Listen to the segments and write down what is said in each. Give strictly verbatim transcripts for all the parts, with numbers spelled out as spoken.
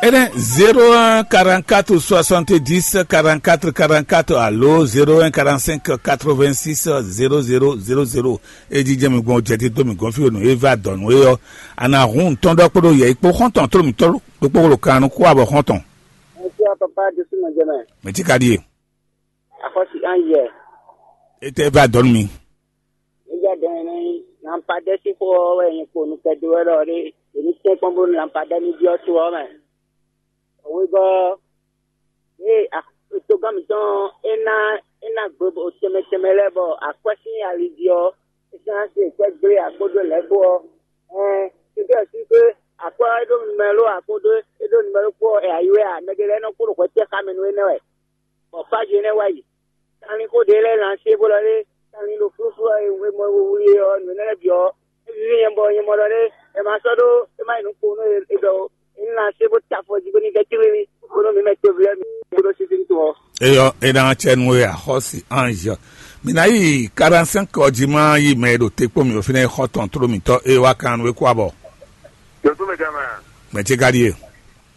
Enɛ zéro un quarante-quatre soixante-dix quarante-quatre quarante-quatre alo zéro un quarante-cinq quatre-vingt-six zéro zéro zéro zéro. E jijɛ mi gbɔn jɛ tito mi gɔn fi o nǔ e va dɔn nǔ e ɔ́, a nǎ hun tɔn ɖɔ kpódó yɛ kpó xɔntɔn tló mi tɔn ɖokpó ɖo kan nú kó abɔ xɔntɔn. Ŋutsu papa ɖésú nɔ jɛ mɛ. Mɛ tí ka ɖíe. Axɔ́sí an yɛ. E tɛ va dɔn nú mi. Nígbà dɔn ní lampadɛ sín xó ɔ́ wɛ nyɛ kpo nukɛdo wɛ ɖɔ ɖé. Èmi tɛ́nkpɔ́n bónú lampadɛ ní byɔ́ to ɔ́ mɛ. Wegɔ́ ɔ́, ée togán mǐtɔn é ná é ná gbe tɛnmɛ tɛnmɛ lɛ́ɛ bɔ akwɛ́ sín ali jí ɔ́, é ná se kwɛ́ gblé akpódó lɛ̌ kpó ɔ́, ɛn tɛ́ntin ɔ́ sí xwé akwɛ́ ɔ́ é ɖó numɛló akpódó é ɖó numɛló kpó ɔ́, è ayǐ wɛ a? Mɛ ɖé lɛ́ɛ nɔ kpo ɖo hwɛ tɛ́ xá mɛ nú énɛ́ wɛ. Bɔ Fáji énɛ́ wá yi. Kanlin xó ɖě lɛ́ɛ lan sé bó lɔ lé, kanlin ɖo flúflú ɔ́ e mɔ wlí é ɔ́, nǔ énɛ́ lɛ́ɛ bǐ ɔ́, é víví nyɛ bɔ nyɛ mɔ ɖɔ lé, è ma sɔ́ ɖó é má nyí nǔ kpowun nú é ɖɔ é ní lan sé bó ta afɔ jí bó ní vɛ́ tlílí kpódó mǐ mɛ toví lɛ́ɛ mi kpódó sísí to ɔ́. Eyɔ, é ná cɛ nú we axɔ́si ange. Mi ná yi quarante-cinq ɔ́ jí má yi mɛ e ɖo te kpó mi ɖo fínɛ́ e xɔ tɔn tló mǐtɔn e wá kan nú we kú abɔ. Yɔtú mɛ jama. Mɛ ce ka ɖíe.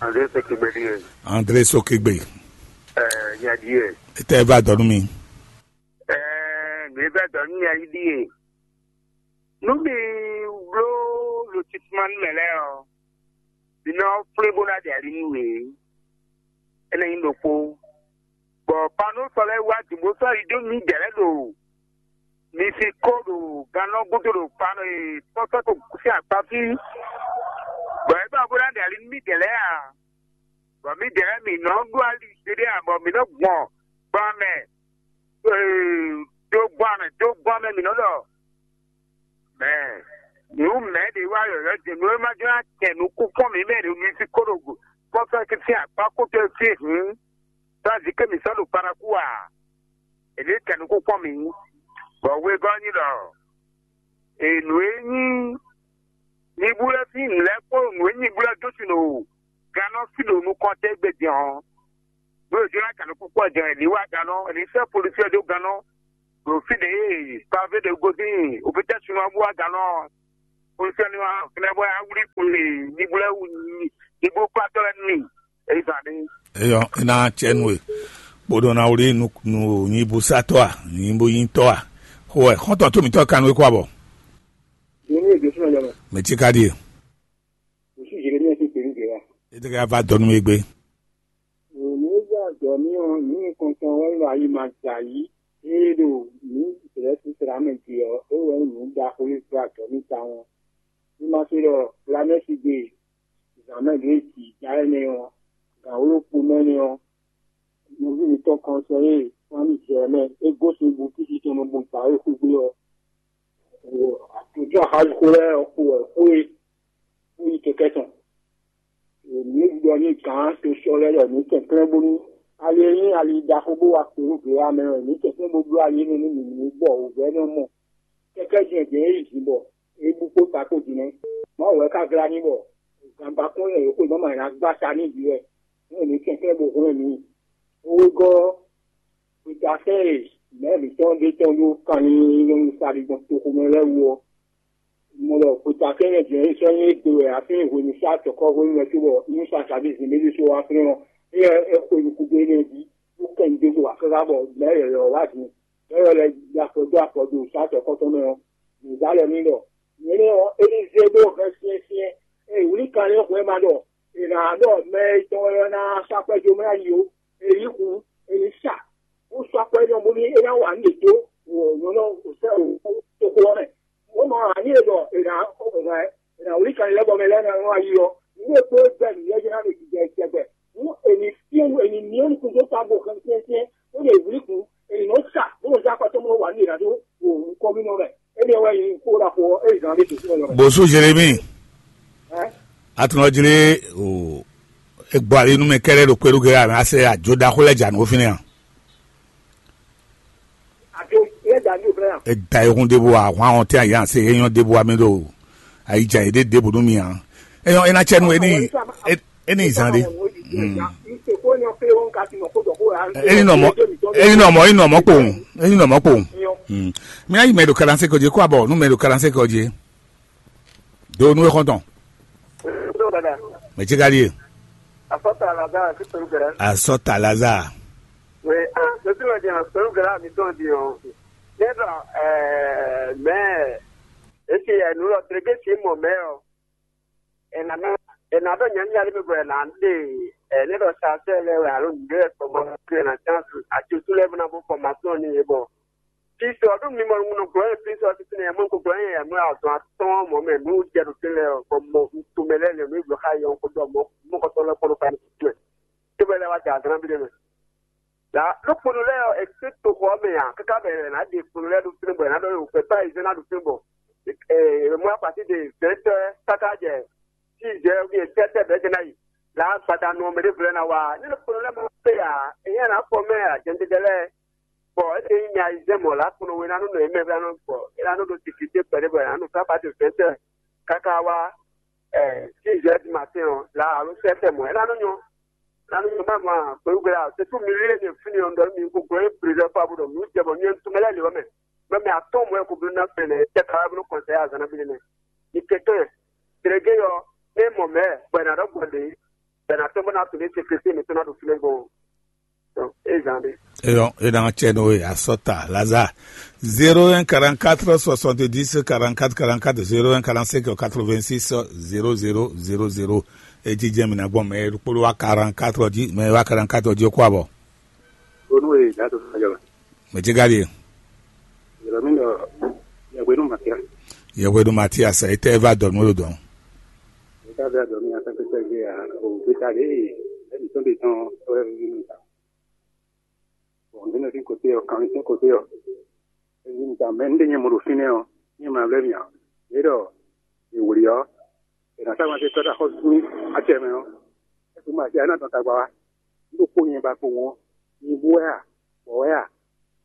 André Sokigbe ɖíe. André Sokigbe. Ɛɛ, nya ɖíe. Etɛ va dɔ nú mi. Ɛɛ, mi va dɔ nú nya yi ɖíe. Nú mi bló lo tituma nú mɛ lɛ́ɛ ɔ́, mi nɔ flé bó ná ɖe ali nú yě. Énɛ́ nyí ɖokpó. Bɔ panú sɔ lɛ́ɛ wá dǐnbó sɔ́ yi dó mǐdɛɛ lɛ́ɛ ɖo mi si kó ɖo gannɔ gúdo ɖo panɔ e tɔ́tɔ́ to sín akpa fí. Bɔ é ba bó ná ɖe ali nú mǐdɛɛ lɛ́ɛ a? Bɔ mǐdɛɛ lɛ́ɛ mǐ nɔ ɖó ali ɖéɖé a, bɔ mǐ nɔ gbɔn gbɔn mɛ dó gbɔn mɛ dó gbɔn mɛ mǐ nɔ ɖɔ mɛ nǔ mɛ ɖě wá yɔ̌yɔ́ din nú é má jló ná kɛ nukúnkún mǐ mɛ ɖo mi sí kó ɖo kɔ́fɛ́ sín akpá kútɔ́ fí hǔn, tá zǐké mǐ sɔ́ ɖo Paraku ǎ. È nǐ kɛ nukúnkún mǐ, bɔ wegɔ́ ní ɖɔ è nǔ e nyí nyibú lɛ́ɛ sín nǔ lɛ́ɛ kpó nǔ e nyibú lɛ́ɛ dó sin ɖo gannɔ fí ɖo nukɔn tɛ́ gbe din ɔ́, nú è jló ná kɛ nukúnkún ɔ́ din ɔ́, è nǐ wá gannɔ, è nǐ sɛ́ polisí ɔ́ dó gannɔ ɖo fí ɖě e pavé ɖě gosín opétɛ́ sunɔ ɔ́ bó wá gannɔ ɔ́. Polisí ɔ́ ní wá fínɛ́ bɔ é wá wlí kun e nyibú lɛ́ɛ wú nyibú kpátɔ́ lɛ́ɛ nú mì. Eyízan ní. Eyɔ, é ná cɛ nú we. Kpódó ná wlí nú nyibúsátɔ́ a, nyibúnyítɔ́ a? Xó wɛ xɔ́ntɔn tó mǐtɔn kan nú é kó abɔ. Yě ní èdè súnmọ́ jọmọ. Mɛ tí ka ɖíe. Òsú Jeremíà ti pè ní gèlè. É tɛ ká va dɔ nú mi gbé. Òní ó gbà dɔ mí ɔ́, ní nǹkan kan wá lọ ayé máa jà yìí. Éé ɖo ní ìṣẹ̀lẹ̀ sísèrè amɛ ce ɔ́, é wɛ nyí nǔ ɖaxó e gbá dɔ mí tawun. Ní má ṣe ɖɔ Lamɛ́si gbe zǎn mɛ ɖě jǐ já énɛ́ ɔ́, gǎn wǒ ɖokpó mɛ énɛ́ ɔ́, nɔví mǐtɔn kan sɛ e fán mì jɛ mɛ é gosín bú fífi tɔn nɔ gbɔn gbǎ e xwé gbe ɔ́. Àtúntò axájú xó lɛ́ɛ ɔ́ kpo wɛ xó e kpó yi kɛkɛ́ tɔn. Mǐ ɖɔ nú gǎn tosɔ́ lɛ́ɛ ɖɔ mǐ kɛnklɛ́n bónú ali e nyí ali ɖaxó bó wá kpo nú glǎmɛ ɔ́, mǐ kɛnklɛ́n bó bló ali énɛ́ nú mǐ ní bɔ wǔvɛ́ nɔ mɔ kɛkɛ́ jɛ́n jɛ̌n e yi bɔ é bú kpó ta kpó din nɛ́. Mawu wɛ ka glá ní bɔ gǎnbakún e è xwe nɔ́ mɛ ná gbá ta ní vǐ wɛ, nú è nǐ kɛnklɛ́n bó hwlɛ́n mǐ. Wegɔ́ ɔ́, gbeta sɛ́n e mɛ̌ mǐtɔn ɖe tɔn ɖó kanlin nyɔ́nu sali gbɔn toxomɛ lɛ́ɛ wú ɔ́, mɔ ɖɔ gbeta sɛ́n e jɛ̌n sɔ́ nyí égbé wɛ afin hwenu sá tɔ̌kɔ́ hwenu wɛ cóbɔ nú sa sàbí zǐn ɖé ɖésú wá flɛ́n ɔ́, éyɛ́ é xwe nukúngbó énɛ́ jí, bó kɛ nu dó xo axáxá bɔ mɛ̌ yɔ̌yɔ́ wá din. Yɔ́yɔ́ lɛ́ɛ ɖo afɔ dó afɔ ɖo sá tɔ̌kɔ́ tɔn mɛ ɔ́, nǔzá lɛ́ɛ ní ɖɔ: Nyɛ̌nɛ́ ɔ́, é ní zé ɖó hɛn syɛ́nsyɛ́n. Ée wǔlíkanlin xwɛ ma ɖɔ è nǎ ɖɔ mɛ e tɔn wɛ ɔ́ ná sɔ́ akwɛ́ jó mɛ ná yi ó. È yǐ hǔn, è nǐ sa, bó sɔ́ akwɛ́ nɔ bónú é ná wa nǔ yětó nyɔ̌nu sɛ́ toxo ɔ́ mɛ. Bó nɔ ǎní e ɖɔ è nǎ è nǎ wlí kanlin lɛ́ɛ bɔ mɛ lɛ́ɛ ná nɔ ayi ɔ́, nǔ e kpó gbɛ nǔ lɛ́ɛ jɛ́n ná ɖo jijɛ tɛgbɛ. Nú è nǐ fyɔ́n è nǐ myɔ́ nukún dó távo xɛnsyɛ́nsyɛ́n, bó ɖo wǔlí kún, è nǐ nɔ sa bó nɔ zán akpá tɔn bó nɔ wa nǔ yě ná dó nukɔn mì nɔ mɛ. Énɛ́ wɛ nyí kó ɖaxó ɔ́, é zǎn ɖé tǒ súnmọ́ lɔ mɛ. Bó sú Zerémi, Hɛn? Atúnɔjlé o egbɔ ali nú mɛ kɛɖɛ ɖo kpéɖugɛ a mɛ asɛ ajo ɖaxó lɛ dza nǔ fínɛ́ a? Ajo lɛ dza nǔ fínɛ́ a? Eda ehun ɖěbǔ a hwan ɔn tɛn a yǎn se é nyɔ́ ɖěbǔ a mɛ ɖo ayidza yě ɖe ɖěbǔ nú mi a? É nyɔ́ é ná cɛ nú é ní é ní zan ɖé. Eni nɔ mɔ eni nɔ mɔ eni nɔ mɔ kpowun. Eni nɔ mɔ kpowun. Mi ayi mɛ ɖo kalanse kɔdzi kó abɔ nú mɛ ɖo kalanse kɔdzi. Do nú exɔntɔn. Mɛ tsi ka ɖie? Kɔta Lazare, Kristo Gɛrɛ. Asɔta Lazare. Oui, ah, je suis le Seigneur, Seigneur Gɛrɛ, mi tɔn di o. Ne dɔ, eh, mais, et puis, eh, nous le trégé si mon mère. Et na, et na dɔ nyanya le bɔ na de, eh, ne dɔ sa se le wa lo de ko mo ke na chance a tu tu le na bo formation ni e bɔ. Kristo ɔ́ ɖo mi mɔ nɔ gblɔ ɛ Kristo ɔ́ titun ɛ mɔ ko gblɔ ɛ mɔ azɔn atɔn mɔ mɛ nu jɛ ɖo tɛnlɛ ɔ bɔ mɔ tomɛ lɛ lɛ nu blɔ xa yɔ ko dɔ mɔ mɔ kɔtɔ lɛ kpɔnɔ ka ni titun ɛ. Tɛbɛ lɛ wa da azan bi ɖe mɛ. La ɖo kpɔnɔ lɛ ɔ ɛsɛ toxɔ ɔ́ mɛ a kaka bɛ ɛ na ɖe kpɔnɔ lɛ ɖo tɛnɛ bɔ ɛ na ɖɔ yɛ wòkpɛ pa ɛzɛ na ɖo tɛnɛ bɔ ɛ mɔ akpati de zɛtɛ kaka jɛ si zɛ wi tɛtɛ bɛ jɛ na yi. La gbadanu ɔmɛ ɖe vlɛ na wa ne ɖo kpɔnɔ lɛ mɔ pe a ɛyɛ na fɔ mɛ a jɛntɛtɛ lɛ bɔ ete nyí nya yi zɛ mɔ la kplɔn we na nɔ nɔ yi mɛ vɛ nɔ bɔ e la nɔ ɖo sécurité kpɛɖé bɔ e na nɔ fá parti fɛsɛ kaka wá ɛ six heures du matin ɔ la alo sɛsɛ mɔ e la nɔ nyɔ la nɔ nyɔ ma ma gbɛwugbɛ la c'est tout milieu de fini ɔ ndɔ mi ko gbɛ président pa bo dɔ mi jɛ bɔ nyɛ tumɛ lɛ le wɛ mɛ mɛ mɛ atɔn mɔ ko blo na fɛnɛ tɛ ka blo kɔnsɛ azana bi ne ni kɛkɛ délégué yɔ ne mɔ mɛ bɔ e na dɔ gbɔ de bɛ na tɔn bɔ na to ne sécurité mi to na do fini gbɔ. Ezan ɖe. Eyɔ, e na cɛ no e asɔta Lazare. Zéro un quarante-quatre soixante-dix quarante-quatre quarante-quatre, zéro un quarante-cinq quatre-vingt-six zéro zéro zéro zéro. E jijɛ mi na gbɔn mɛ kpolo wa quarante-quatre ji, mɛ wa quarante-quatre ji ko abɔ. Onu e da to fa jɔ. Mɛ ti gari. Yɛlɛ mi dɔ yɛwenu Matias. Yɛwenu Matias, e tɛ va dɔ nu lo dɔn. E ta va dɔ mi a ta pe ta ge a o pe ta ge e mi tɔn de tɔn o e mi ta. Bon, nínú sí kòtí ɔ, kan sí kòtí ɔ. Èyí ń ta mɛ ndé nyɛ mɔ ɖo fínɛ́ ɔ, nyɛ ma vlɛ́ mì ǎ. Yě ɖɔ è wlǐ ɔ́, è nǎ sá wan tɔ́ ɖo axɔ́sú sín acɛ mɛ ɔ́, é kún ma acɛ ɔ́ é ná dɔn tagba wá. Un ɖo kpó nyɛ ba kpowun ɔ́, nyibú wɛ a, bɔ̌ wɛ a,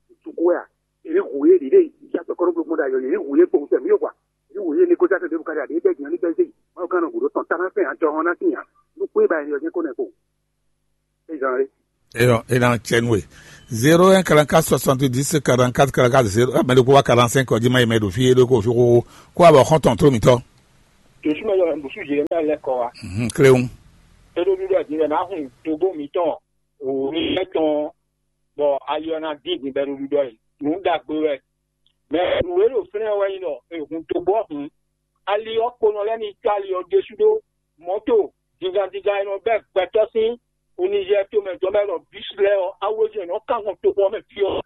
nǔtúkú wɛ a, è nǐ hu yé ɖǐɖé yi sá tɔkɔ́núgblogbó ɖo ayɔ, è nǐ hu yé kpowun tɛ́ mǐ yó kwa, è nǐ hu yé ní kó sá tɛ́ ɖěbǔ káɖí ǎ, ɖě bɛ́ jǐ ɔ́ ní bɛ́ zé yi. Mawu ka nɔ gǔ ɖó tɔn tá ná fɛ́n ǎ, jɔhɔn ná tín ǎ, nú kpé ba è nɔ jɛ́n kó nɔ kpowun. Ezan ɖe. Eyɔ, e na cɛ nú we. Zéro un quarante-quatre soixante-dix quarante-quatre quarante-quatre zéro, mɛ ɖokpó wá quarante-cinq ɔ jí ma yi mɛ ɖo fí é ɖokpó fí xóxó. Kó abɔ xɔ́ntɔn tló mǐtɔn. Josúmɛ yɔ ɛmbusu Jeremia lɛ kɔ wa. Mhm, kléwún. Eɖo ɖuɖɔ din wɛ ná hun togo mǐtɔn òwúrú lɛ tɔn bɔ ali ɔ́ ná dín din bɛ ɖo ɖuɖɔ yi. Nǔ ɖagbe wɛ. Mɛ nǔ e ɖo fínɛ́ wɛ nyí ɖɔ è hun togo ɔ́ hun. Ali ɔ́ kponɔ lɛ́ɛ ní có ali ɔ́ ɖésú ɖó mɔ̌to díngán díngán e nɔ bɛ́ gbɛtɔ́ sín Onizɛ tomɛ jɔmɛ ɖɔ bísí lɛ́ɛ ɔ́, awo e nɔ kán gbɔn toxo ɔ́ mɛ fí ɔ́.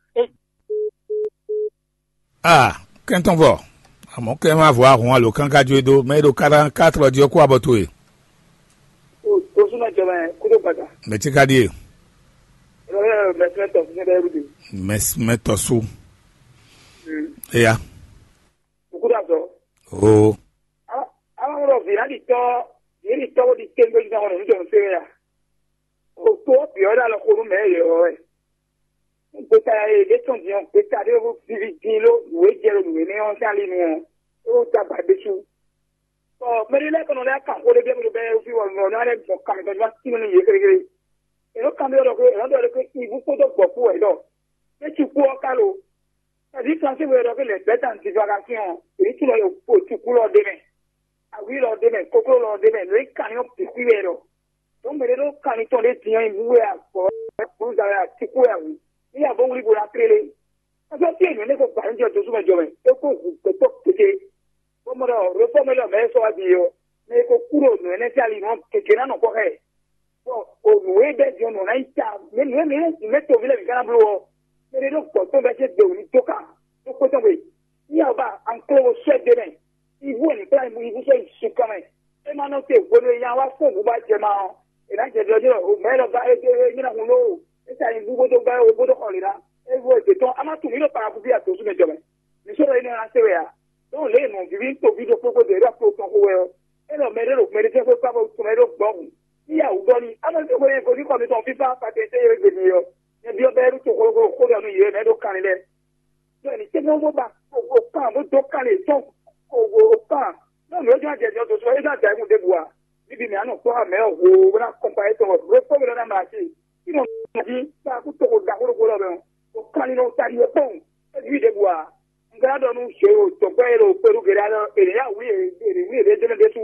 A kɛntɔn vɔ, amɔ̌ kɛ má vɔ ahun alo kánká jó e dó mɛ e ɖo quarante-quatre jí ɔ́ kó abɔ towe. O tosúnɔ jɔmɛ kúdó gbàgbà. Mɛ tí ká ɖíe. Ɛlɔ yɛ mɛ fúnɛ tɔ fúnɛ bɛ rúbi. Mɛ mɛ tɔ sú. Eya. Òkúta sɔ. Oo. Aláwòrán vǐ náà ɖi tọ́ vǐ ɖi tọ́ bó ɖi téńgbé jí náà wọn ní jọ̀ọ́ fẹ́rẹ́ ya. Òtó bìọ́ dá lọ kó nú mẹ́ yẹ ọ́ ẹ̀. Gbèsè ayé ɖé tɔn din ɔ́, gbèsè aɖé vivi din ló nǔ e jɛ ɖo nǔ énɛ́ ɔ́ sín ali nu ɔ́, é wó dó agba ɖésú. Bɔ mɛɖé lɛ́ɛ kɔnɔ lɛ́ɛ kan xó ɖé bɛ́ mɛ ɖo bɛ́ fí wɔ nɔ ɔ́ lɛ́ɛ gbɔn kan mɛ tɔn ná tín nú yě xéxé. È nɔ kan ɖé ɖɔ xé, è nɔ ɖɔ ɖé xé ibu kpódó gbɔ̌ kpó wɛ ɖɔ. Mɛ ci kú ɔ́ ká lo. Ɛ̌ vǐ Fransé wɛ ɖɔ xé lɛ̌ bɛ́ ta nǔdídó aga sín ɔ́, è ní tunɔ ɖo cukú lɔ ɖé mɛ. Awǐ lɔ ɖé mɛ, kokló lɔ ɖé mɛ, nǔ e kan nyɔ́ bǐ xwí wɛ ɖɔ. Ɖó mɛ ɖé ɖó kanlin tɔn ɖé din ɔ́ nyi nǔ wɛ a gbɔ gbluza wɛ a cukú wɛ a wǔ. Ní ya bó wlí bo ná tlélé. Ɔ́ fí e nǔ énɛ́ ko gbǎ ní jɔ dosú mɛ jɔ mɛ, é kó hu gbɛtɔ́ kété. Bó mɔ ɖɔ réfɔ́mɛ lɔ mɛ e sɔ́ wá din é ɔ́, mɛ e ko kú ɖo nǔ énɛ́ sín ali nǔ ɔ́, gěgé ná nɔ kpɔ́ xá ɛ. Bɔ o nǔ e bɛ́ din ɔ́ nɔ ná nyí ta, mɛ nǔ e mɛ nǔ mɛ toví lɛ́ɛ bǐ ka ná bló ɔ́, mɛ ɖé ɖó gbɔ̌ tɔn bɛ́ jɛ gbewǔ ní dó kan ɖó xwé tɔn gbe. Ní ya ba anklo sɔ́ ɛ dó mɛ, ibu wɛ ní kplá ibu ibu sɔ́ yi sun kɔn mɛ. É ma nɔ te hwenu e nya wá fún nǔ ba jɛ ma ɔ́, è nǎ jɛ ɖɔ jí ɖɔ mɛ̌ lɔ gán é é nyí ná hun lóo, é sa nyi bú bó dó gbɛ́ ó bó dó xɔ lě ná. É vo èdè tɔn á má tunwun mǐ ɖo parakúbí adǒsú mɛ jɔ mɛ. Mǐ sɔ́ ɖɔ énɛ́ ná se wɛ ǎ. Dɔn lě e nǔ víví tɔn ví ɖokpó gbɔdɔ é ɖo akplo tɔn xo wɛ ɔ́, é ɖɔ mɛ ɖé ɖo mɛ ɖé jɛ́n xwé kpá bɔ tɔn mɛ ɖó gbɔ́ hun. Ní yɛ wǔ ɖɔ n'i, á má se hwenu e vodún kɔ mitɔn fífá patɛntɛ́ e gbe mi ɔ́, nyɛ byɔ́ bɛ́ ɖó toxo xó ɖɔ nú yě mɛ ɖó kanlin lɛ́ɛ. Ɖɔ nǐ tɛ́nɛ́ bó ba o kan bó dó kan lě tɔn o kan. Nɔ nǔ e jɔn jɛ jɔ dǒ sɔ é ná da ɛkún ɖěbǔ ǎ. Bíbí mǐ á nɔ kpɔ́ mɛ ɔ́ hoo bó ná kɔn pa étɔn wɛ bó kpɔ́ mɛ lɔ ná mlá sí. Fí nɔ jí kpá kú toxo ɖaxó ɖokpó lɔ mɛ ɔ́, o kan lino ta ɖi wɛ kpɔ́n. É ví ɖěbǔ ǎ. Un ka ná ɖɔ nú zě o tɔ̌gbɛ́ e ɖo kpeɖú geɖe alɔ è nǐ yá wǔ yě è nǐ wú yě ɖě jɛ́nɛ ɖésú.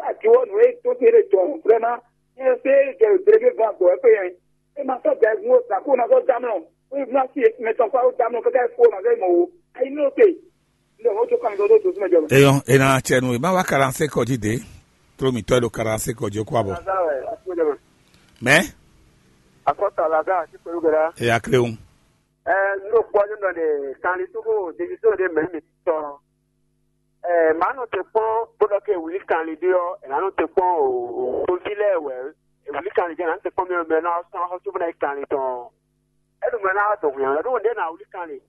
Ati wɔ nǔ e tó te ɖe jɔ vrɛ́ma Ɛ pé jɛ délégué gbɔn agbǒ wɛ pé yɛn. É ma sɔ́ jɛ gun ó zǎn kó ma sɔ́ dá mlɔ. Ó yi fún así mɛ tɔn kpá ó dá mlɔ kɛkɛ kó ma sɔ́ yi mɔ ó. Ayi ní ó te. Ndé ó jó kán mi dó dó zúmɛ jɛ mɛ. Eyɔn, ena cɛ nu e ma wá quarante-cinq kɔ jí dé. Tró mi tɔ́ ɖo quarante-cinq kɔ jí kó abɔ. Lazare, asúmɛ jɛ mɛ. Mɛ? Akɔta Lazare, sí pẹ̀lú gẹ̀dá. E ya kle ŋu. Ɛ, n ɖo kpɔ́ nínú ɖɔ ɖe kanlin tógó ɖevi tó ɖe mɛ mi tɔn. Ɛ, màá nɔ te kpɔ́n bó ɖɔ ké wlí kanlin ɖé ɔ́, è nǎ nɔ te kpɔ́n o, o, o ví lɛ́ɛ wɛ. È wlí kanlin jɛ nǎ nɔ te kpɔ́n mɛ mɛ ná sɔ́ xɔ́sú bó ná yi kanlin tɔn. É ɖo mɛ ná wá dɔn hwǐ ǎ, ɖó ɖé ná wlí kanlin.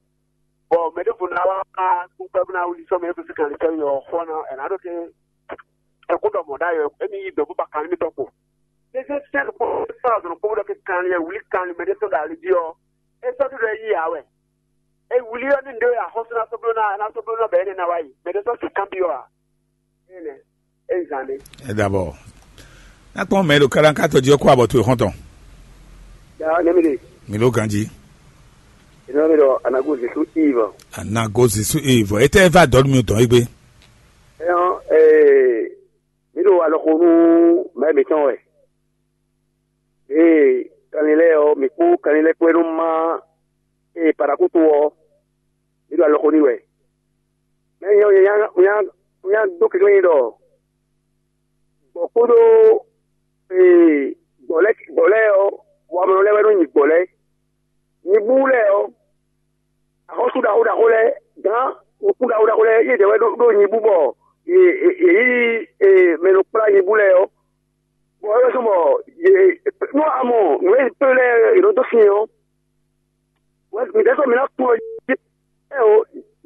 Bɔ mɛ ɖěvo ná wá kpúkpɛ́ bó ná wlí sɔ́ mɛ é kó sí kanlin tɔn yi ɔ́ xɔ ná, è nǎ ɖo ké. Ɛ kó ɖɔ mɔ̌ ɖ'ayɔ, émí yí dɔ̌n bó ba kanlin mitɔn kpo. Ɖé zé sɛ́n kpó sɔ́ azɔ̌ kpó ɖɔ ké kanlin e wlí kanlin mɛ ɖé tɔn ɖo ali jí ɔ́, é sɔ́ ɖo yí ǎ wɛ. É wlí ɔ́ ní ɖó axɔ́sú ná sɔ́ bló ná ná sɔ́ bló ná bɛ̌ énɛ́ ná wá yi. Mɛ ɖé sɔ́ su kanbyɔ́ ǎ. Énɛ́ é zán ɖé. É ɖabɔ. Nakpɔn mɛ ɖo kaɖankatɔ jí ɔ́ kó abɔ towe xɔ́ntɔn. Ya nɛmi ɖe. Mi ɖo ganjí. Ìnáwó mi ɖɔ anago Jesu Eve. Anago Jesu Eve. Etɛ va dɔn mi dɔn egbe. Ɛyɔn ee mi ɖo alɔxo nú mɛ mǐtɔn wɛ. Ee kanlin lɛ́ɛ ɔ́, mǐ kpó kanlin lɛ́ɛ kpó é nɔ má ee paɖakúto ɔ́, mǐ ɖo alɔxo n'i wɛ. Mɛ nyɛ nyɛ nyɛ nyɛ dó kɛkɛ́ nyi ɖɔ gbɔ̌ kpódó ee gbɔ̌ lɛ́ɛ gbɔ̌ lɛ́ɛ ɔ́, wamlɔ lɛ́ɛ wɛ nɔ nyi gbɔ̌ lɛ́ɛ. Nyibú lɛ́ɛ ɔ́, axɔ́sú ɖaxó ɖaxó lɛ́ɛ, gǎn nukún ɖaxó ɖaxó lɛ́ɛ, yě jɛ wɛ ɖó ɖó nyibú bɔ yě yě yí mɛ nɔ kplá nyibú lɛ́ɛ ɔ́. Bɔ é wɛ zɔ́n bɔ yě nú a mɔ nǔ e pé lɛ́ɛ yě nɔ dó sin ɔ́, wɛ mǐdɛɛ sɔ́ mǐ ná tunwun ɛ jí. Ɛ o,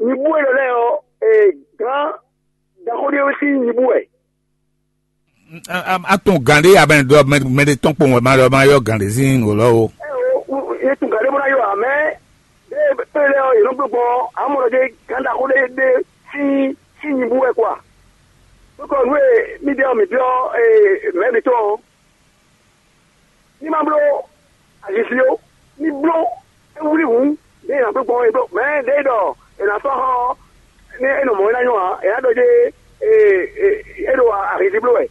nyibú élɔ́ lɛ́ɛ ɔ́, gǎn ɖaxó ɖé wɛ sín nyibú wɛ. A tunwun gǎn ɖé abɛn ɖɔ mɛ ɖé tɔn kpɔn wɛ ma ɖɔ ma yɔ gǎn ɖé sín nǔ lɔ o. Ɛ o, yě tunwun gǎn ɖé bó ná yɔ ǎ, mɛ ɖé pé lɛ́ɛ ɔ́, yě nɔ bló gbɔn ɔ́, amɔ ɖɔ ɖé gǎn ɖaxó ɖé ɖé sín sín nyibú wɛ kwa. Nukɔ nú e mì ɖe ɔ́, mǐ byɔ́ mɛ̌ mǐtɔn ɔ́, ní ma bló azizi ó, ní bló é wlí hǔn, ɖěe è nǎ bló gbɔn é bló. Mɛ̌ ɖěe ɖɔ è nǎ sɔ́ xá ɔ́, ní é nɔ mɔ̌ é ná nyɔ́ ǎ, è nǎ ɖɔ jé é ɖo azizi bló wɛ.